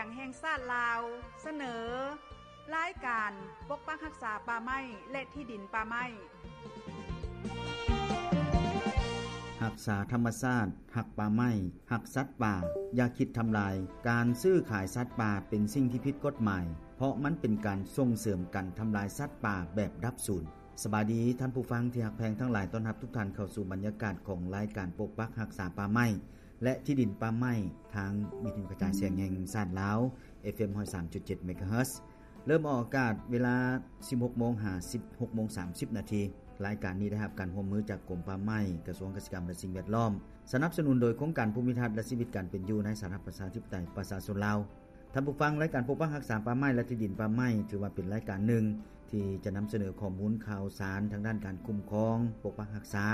ງແຫ່ງຊາດລາວ ສະເໜີ ລາຍການປົກປັກຮັກສາປ່າໄມ້ ແລະ ທີ່ດິນປ່າໄມ້. ຮັກສາທຳມະຊາດ, ຮັກປ່າໄມ້, ຮັກສັດປ່າ, ຢ່າຄິດທຳລາຍ. ການຊື້ຂາຍສັດປ່າເປັນສິ່ງທີ່ຜິດກົດໝາຍ, ເພາະມັນເປັນການສົ່ງເສີມການທຳລາຍສັດປ່າແບບດັບສູນ. ສະບາຍດີທ່ານຜູ້ຟັງທີ່ຮັກແພງທັງຫຼາຍ, ຕ້ອນຮັບທຸກທ່ານເຂົ້າສູ່ບັນຍາກາດຂອງລາຍການປົກປັກຮັກສາປ່າໄມ້ ແລະ ທີ່ດິນປ່າໄມ້ ທາງວິທະຍຸກະຈາຍສຽງແຫ່ງຊາດລາວ ເອັຟເອັມ ຮ້ອຍສາມຈຸດເຈັດ ເມກາເຮີດ. ເລີ່ມອອກອາກາດເວລາ ສິບຫົກໂມງ ຫາ ສິບຫົກໂມງ ສາມສິບນາທີ. ລາຍການນີ້ໄດ້ຮັບການຮ່ວມມືຈາກກົມປ່າໄມ້, ກະຊວງກະສິກຳ ແລະ ສິ່ງແວດລ້ອມ, ສະໜັບສະໜູນໂດຍໂຄງການພູມິທັດ ແລະ ຊີວິດການເປັນຢູ່ໃນສາທາລະນະລັດ ປະຊາທິປະໄຕ ປະຊາຊົນລາວ. ທ່ານຜູ້ຟັງ, ລາຍການປົກປັກຮັກສາປ່າໄມ້ ແລະ ທີ່ດິນປ່າໄມ້ ຖືວ່າເປັນລາຍການໜຶ່ງທີ່ຈະນຳສະເໜີຂໍ້ມູນຂ່າວສານທາງດ້ານການຄຸ້ມຄອງ, ປົກປັກຮັກສາ,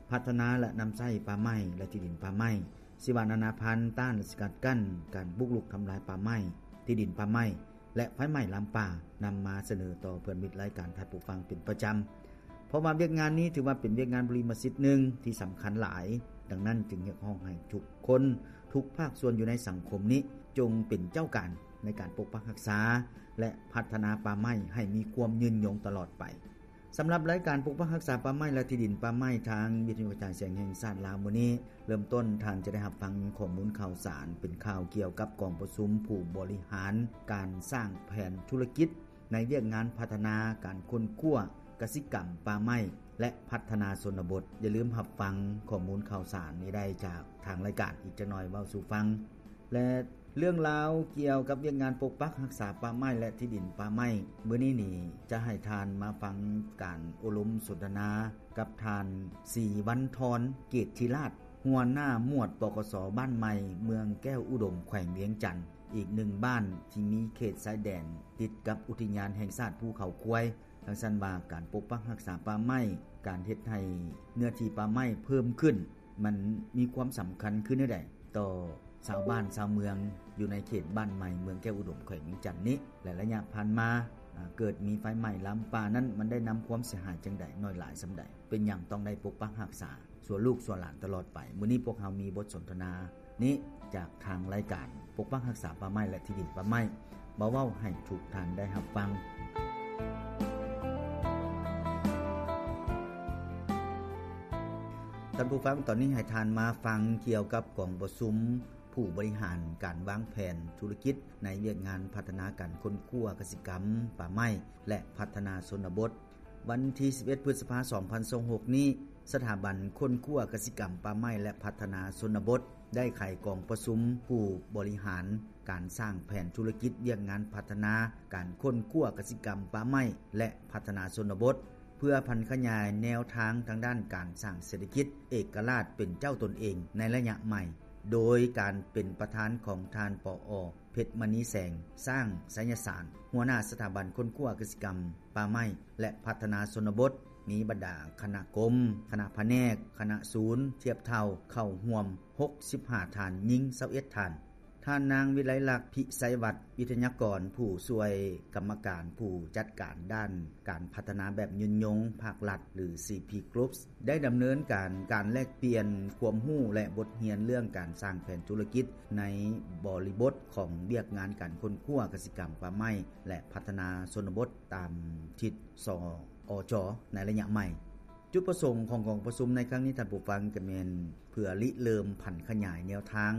ພັດທະນາ ແລະ ນຳໃຊ້ປ່າໄມ້ ແລະ ທີ່ດິນປ່າໄມ້, ຊີວະນານາພັນ, ຕ້ານ ແລະ ສະກັດກັ້ນການບຸກລຸກທຳລາຍປ່າໄມ້, ທີ່ດິນປ່າໄມ້ ແລະ ໄຟໄໝ້ລາມປ່າ ນຳມາສະເໜີຕໍ່ເພື່ອນມິດລາຍການທ່ານຜູ້ຟັງເປັນປະຈຳ. ເພາະວ່າວຽກງານນີ້ຖືວ່າເປັນວຽກງານບຸລິມະສິດໜຶ່ງທີ່ສຳຄັນຫຼາຍ, ດັ່ງນັ້ນຈຶ່ງຮຽກຮ້ອງໃຫ້ທຸກຄົນ, ທຸກພາກສ່ວນຢູ່ໃນສັງຄົມນີ້ ຈົ່ງເປັນເຈົ້າການໃນການປົກປັກຮັກສາ ແລະ ພັດທະນາປ່າໄມ້ໃຫ້ມີຄວາມຍືນຍົງຕະຫຼອດໄປ. ສຳລັບລາຍການປົກປັກຮັກສາປ່າໄມ້ ແລະ ທີ່ດິນປ່າໄມ້ ທາງວິທະຍຸກະຈາຍສຽງແຫ່ງຊາດລາວມື້ນີ້, ເລີ່ມຕົ້ນທ່ານຈະໄດ້ຮັບຟັງຂໍ້ມູນຂ່າວສານເປັນຂ່າວກ່ຽວກັບກອງປະຊຸມຜູ້ບໍລິຫານການສ້າງແຜນທຸລະກິດ ໃນວຽກງານພັດທະນາການຄົ້ນຄວ້າກະສິກຳປ່າໄມ້ ແລະ ພັດທະນາຊົນນະບົດ. ຢ່າລືມຮັບຟັງຂໍ້ມູນຂ່າວສານນີ້ໄດ້ຈາກທາງລາຍການ. ອີກຈັກໜ່ອຍເວົ້າສູ່ຟັງ ແລະ ເລື່ອງລາວກ່ຽວກັບວຽກງານປົກປັກຮັກສາປ່າໄມ້ ແລະ ທີ່ດິນປ່າໄມ້ ມື້ນີ້ນີ້ຈະໃຫ້ທ່ານມາຟັງການໂອ້ລົມສົນທະນາກັບທ່ານ ສີວັນທອນ ເກດທິລາດ ຫົວໜ້າໝວດ ປກສ ບ້ານໃໝ່ ເມືອງແກ້ວອຸດົມ ແຂວງວຽງຈັນ, ອີກໜຶ່ງບ້ານທີ່ມີເຂດຊາຍແດນຕິດກັບອຸທິຍານແຫ່ງຊາດພູເຂົາຄວາຍ. ຈັ່ງຊັ້ນວ່າ ການປົກປັກຮັກສາປ່າໄມ້, ການເຮັດໃຫ້ເນື້ອທີ່ປ່າໄມ້ເພີ່ມຂຶ້ນ, ມັນມີຄວາມສຳຄັນຄືແນວໃດຕໍ່ຊາວບ້ານຊາວເມືອງ ຢູ່ໃນເຂດບ້ານໃໝ່ ເມືອງແກ້ວອຸດົມ ແຂວງວຽງຈັນນີ້ ແລະ ໄລຍະຜ່ານມາ ອາ ເກີດມີໄຟໄໝ້ລາມປ່ານັ້ນ ມັນໄດ້ນຳຄວາມເສຍຫາຍຈັ່ງໃດ, ນ້ອຍຫຼາຍສ່ຳໃດ, ເປັນຫຍັງຕ້ອງໄດ້ປົກປັກຮັກສາ ຊົ່ວລູກຊົ່ວຫຼານຕະຫຼອດໄປ. ມື້ນີ້ພວກເຮົາມີບົດສົນທະນານີ້ຈາກທາງລາຍການປົກປັກຮັກສາປ່າໄມ້ ແລະ ທີ່ດິນປ່າໄມ້ ມາເວົ້າໃຫ້ທຸກທ່ານໄດ້ຮັບຟັງ. ທ່ານຜູ້ຟັງ, ຕອນນີ້ໃຫ້ທ່ານມາຟັງກ່ຽວກັບກອງປະຊຸມຜູ້ບໍລິຫານການວາງແຜນທຸລະກິດໃນວຽກງານພັດທະນາການຄົ້ນຄວ້າກະສິກຳ, ປ່າໄມ້ ແລະ ພັດທະນາຊົນນະບົດ. ວັນທີສິບເອັດ ພຶດສະພາ ສອງພັນຊາວຫົກນີ້, ສະຖາບັນຄົ້ນຄວ້າກະສິກຳ, ປ່າໄມ້ ແລະ ພັດທະນາຊົນນະບົດ ໄດ້ໄຂກອງປະຊຸມຜູ້ບໍລິຫານການສ້າງແຜນທຸລະກິດວຽກງານພັດທະນາການຄົ້ນຄວ້າກະສິກຳ, ປ່າໄມ້ ແລະ ພັດທະນາຊົນນະບົດ ເພື່ອຜັນຂະຫຍາຍແນວທາງທາງດ້ານການສ້າງເສດຖະກິດເອກະລາດເປັນເຈົ້າຕົນເອງໃນໄລຍະໃໝ່, ໂດຍການເປັນປະທານຂອງທ່ານ ປອ ເພັດມະນີແສງ ຊ້າງໄຊຍະສານ ຫົວໜ້າສະຖາບັນຄົ້ນຄວ້າກະສິກຳ, ປ່າໄມ້ ແລະ ພັດທະນາຊົນນະບົດ, ມີບັນດາຄະນະກົມ, ຄະນະພະແນກ, ຄະນະສູນທຽບເທົ່າ ເຂົ້າຮ່ວມຫົກສິບຫ້າທ່ານ, ຍິງຊາວເອັດທ່ານ. ທ່ານນາງ ວິໄລລັກ ພິໄຊວັດ ວິທະຍາກອນ ຜູ້ຊ່ວຍກຳມະການຜູ້ຈັດການດ້ານການພັດທະນາແບບຍືນຍົງພາກລັດ ຫຼື ຊີພີ ກຣຸບ ໄດ້ດຳເນີນການ ການແລກປ່ຽນຄວາມຮູ້ ແລະ ບົດຮຽນເລື່ອງການສ້າງແຜນທຸລະກິດໃນບໍລິບົດຂອງວຽກງານການຄົ້ນຄວ້າກະສິກຳ, ປ່າໄມ້ ແລະ ພັດທະນາຊົນນະບົດ ຕາມທິດ ສອຈ ໃນໄລຍະໃໝ່. ຈຸດປະສົງຂອງກອງປະຊຸມໃນຄັ້ງນີ້, ທ່ານຜູ້ຟັງ, ກະແມ່ນເພື່ອລິເລີ່ມຜັນຂະຫຍາຍແນວທາງ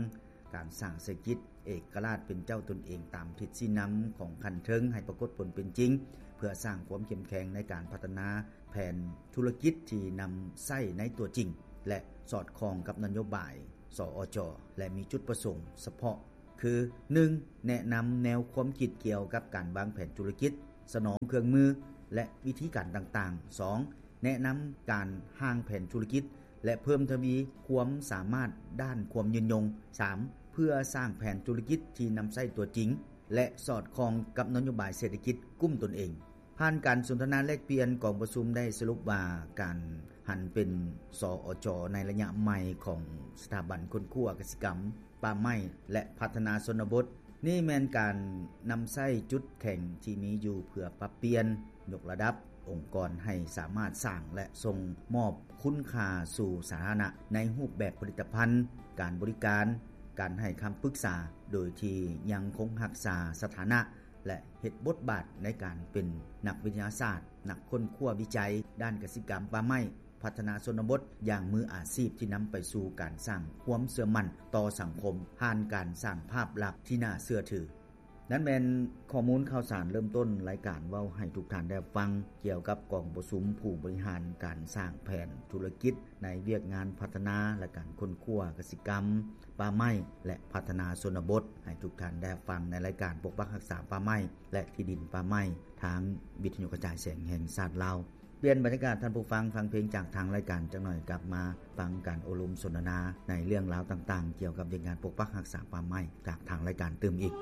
ການສ້າງເສດຖະກິດເອກະລາດເປັນເຈົ້າຕົນເອງຕາມທິດຊີ້ນຳຂອງຂັ້ນເທິງໃຫ້ປາກົດຜົນເປັນຈິງ, ເພື່ອສ້າງຄວາມເຂັ້ມແຂງໃນການພັດທະນາແຜນທຸລະກິດທີ່ນຳໃຊ້ໃນຕົວຈິງ ແລະ ສອດຄ່ອງກັບນະໂຍບາຍ ສອຈ ແລະ ມີຈຸດປະສົງສະເພາະ ຄື ໜຶ່ງ ແນະນຳແນວຄວາມຄິດກ່ຽວກັບການວາງແຜນທຸລະກິດ, ສະໜອງເຄື່ອງມື ແລະ ວິທີການຕ່າງໆ. ສອງ ແນະນຳການຮ່າງແຜນທຸລະກິດ ແລະ ເພີ່ມທະວີຄວາມສາມາດດ້ານຄວາມຍືນຍົງ. ສາມ ເພື່ອສ້າງແຜນທຸລະກິດທີ່ນຳໃຊ້ຕົວຈິງ ແລະ ສອດຄ່ອງກັບນະໂຍບາຍເສດຖະກິດກຸ້ມຕົນເອງ. ຜ່ານການສົນທະນາແລກປ່ຽນ, ກອງປະຊຸມໄດ້ສະຫຼຸບວ່າ ການຫັນເປັນ ສອຈ ໃນໄລຍະໃໝ່ຂອງສະຖາບັນຄົ້ນຄວ້າກະສິກຳ, ປ່າໄມ້ ແລະ ພັດທະນາຊົນນະບົດ ນີ້ແມ່ນການນຳໃຊ້ຈຸດແຂງທີ່ມີຢູ່ເພື່ອປັບປ່ຽນ, ຍົກລະດັບອົງກອນໃຫ້ສາມາດສ້າງ ແລະ ສົ່ງມອບຄຸນຄ່າສູ່ສາທາລະນະໃນຮູບແບບຜະລິດຕະພັນ, ການບໍລິການ, ການໃຫ້ຄຳປຶກສາ ໂດຍທີ່ຍັງຄົງຮັກສາສະຖານະ ແລະ ເຮັດບົດບາດໃນການເປັນນັກວິທະຍາສາດ, ນັກຄົ້ນຄວ້າວິໄຈດ້ານກະສິກຳປ່າໄມ້, ພັດທະນາຊົນນະບົດຢ່າງມືອາຊີບ ທີ່ນຳໄປສູ່ການສ້າງຄວາມເຊື່ອໝັ້ນຕໍ່ສັງຄົມ ຜ່ານການສ້າງພາບລັກທີ່ໜ້າເຊື່ອຖື. ນັ້ນແມ່ນຂໍ້ມູນຂ່າວສານເລີ່ມຕົ້ນລາຍການເວົ້າໃຫ້ທຸກທ່ານໄດ້ຮັບຟັງ ກ່ຽວກັບກອງປະຊຸມຜູ້ບໍລິຫານການສ້າງແຜນທຸລະກິດໃນວຽກງານພັດທະນາ ແລະ ການຄົ້ນຄວ້າກະສິກຳ, ປ່າໄມ້ ແລະ ພັດທະນາຊົນນະບົດ ໃຫ້ທຸກທ່ານໄດ້ຮັບຟັງໃນລາຍການປົກປັກຮັກສາປ່າໄມ້ ແລະ ທີ່ດິນປ່າໄມ້ ທາງວິທະຍຸກະຈາຍສຽງແຫ່ງຊາດລາວ. ປ່ຽນບັນຍາກາດທ່ານຜູ້ຟັງ, ຟັງເພງຈາກທາງລາຍການຈັກໜ່ອຍ, ກັບມາຟັງການໂອ້ລົມສົນທະນາໃນເລື່ອງລາວຕ່າງໆ ກ່ຽວກັບວຽກງານປົກປັກຮັກສາປ່າໄມ້ຈາກທາງລາຍການຕື່ມອີກ.